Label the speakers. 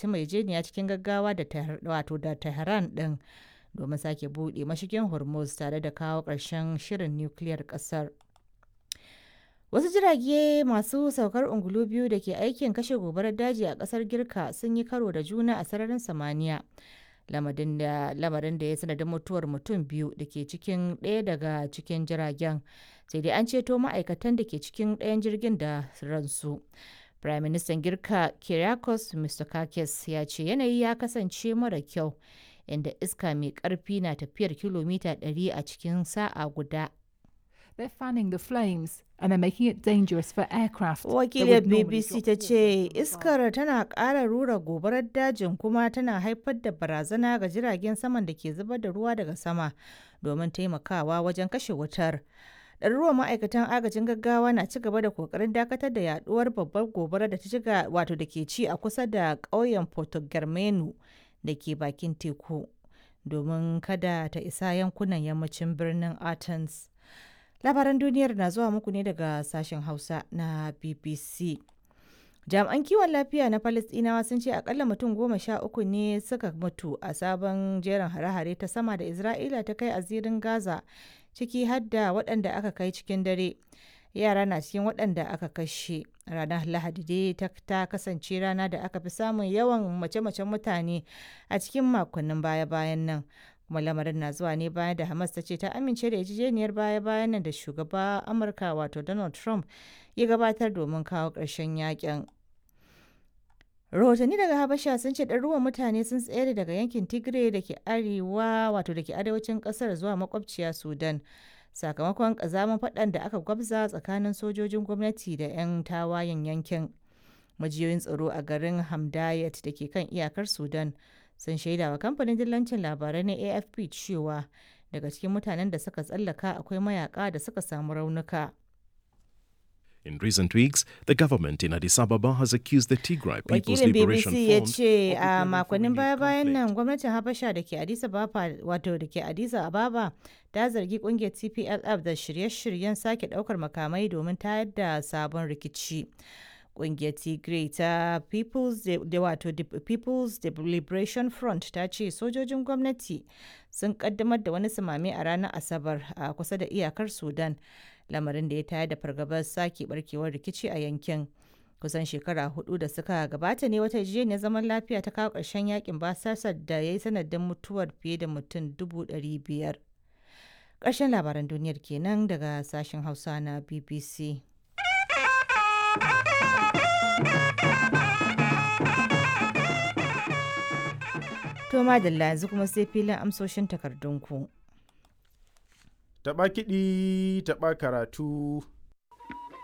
Speaker 1: ci yarjejeniya cikin gaggawa da wato da Tehran ɗin domin sake buɗe mashigin Hormuz tare da kawo ƙarshen shirin nukiliyar ƙasar. Wasu jirage masu saukar ungulu biyu da ke aikin kashe gobarar daji a ƙasar Girka sun yi karo da juna a sararin samaniya. Lamarin da ya sanadin mutuwar mutum biyu da ke cikin ɗaya daga cikin jiragen. Sai dai an ceto ma'aikatan da ke cikin ɗayan jirgin da ransu. Prime Minister Girka Kyriakos Mitsotakis ya ce yanayi ya kasance mara kyau inda iska mai ƙarfi na tafiyar kilomita 100 a cikin sa'a guda.
Speaker 2: They're fanning the flames and they're making it dangerous for aircraft.
Speaker 1: Wakiliyar BBC ta ce iskar tana ƙara rura gobarar dajin kuma tana haifar da barazana ga jiragen saman da ke zubar da ruwa daga sama domin taimakawa wajen kashe wutar. Ɗaruruwan ma'aikatan agajin gaggawa na ci gaba da kokarin dakatar da yaduwar babbar gobarar da ta shiga wato da ke ci a kusa da ƙauyen Porto Germano da ke bakin teku domin kada ta isa yankunan yammacin birnin Athens. Labaran duniyar na zuwa muku ne daga sashen Hausa na BBC. Jami'an kiwon lafiya na Falasɗinawa sun ce akalla mutum 13 ne suka mutu a sabon jerin hare-hare ta sama da Isra'ila ta kai a zirin Gaza, ciki har da waɗanda aka kai cikin dare. Yara na cikin waɗanda aka kashe. Ranar Lahadi dai ta kasance rana da aka fi samun yawan mace-macen mutane a cikin makonnin baya-bayan nan. Kuma lamarin na zuwa ne bayan da Hamas ta ce ta amince da yarjejeniyar baya-bayan nan da shugaba Amurka wato Donald Trump ya gabatar domin kawo ƙarshen yakin. Rahotanni daga Habasha sun ce ɗaruruwan mutane sun tsere daga yankin Tigray da ke arewa wato da ke arewacin ƙasar zuwa makwabciya Sudan sakamakon ƙazamin faɗan da aka gwabza tsakanin sojojin gwamnati da 'yan tawayen yankin. Majiyoyin tsaro a garin Hamdayat da ke kan iyakar Sudan sun shaida wa kamfanin dillancin labarai na AFP cewa daga cikin mutanen da suka tsallaka akwai mayaka da suka samu raunuka.
Speaker 3: In recent weeks, the government in Addis Ababa has accused the Tigray People's
Speaker 1: Wakilin
Speaker 3: Liberation
Speaker 1: BBC ya
Speaker 3: Front
Speaker 1: ce
Speaker 3: of
Speaker 1: a
Speaker 3: preparing for
Speaker 1: makonnin
Speaker 3: renewed
Speaker 1: baya-bayan nan
Speaker 3: conflict.
Speaker 1: gwamnatin Habasha da ke Addis Ababa wato da ke Addis Ababa ta zargi kungiyar TPLF da shirye-shiryen sake daukar makamai domin tayar da sabon rikici. Kungiyar Tigray ta People's da wato the People's Liberation Front ta ce sojojin gwamnati sun kaddamar da wani sumame a ranar Asabar a kusa da iyakar Sudan, lamarin da ya tayar da fargabar sake barkewar rikici a yankin. Kusan shekara 4 da suka gabata ne wata yarjejeniyar zaman lafiya ta kawo ƙarshen yakin basasar da ya yi sanadin mutuwar fiye da mutum 500,000. Ƙarshen labaran duniyar kenan daga sashen Hausa na BBC. To madalla yanzu kuma sai filin amsoshin takardunku.
Speaker 4: Taɓa kiɗi, taɓa karatu.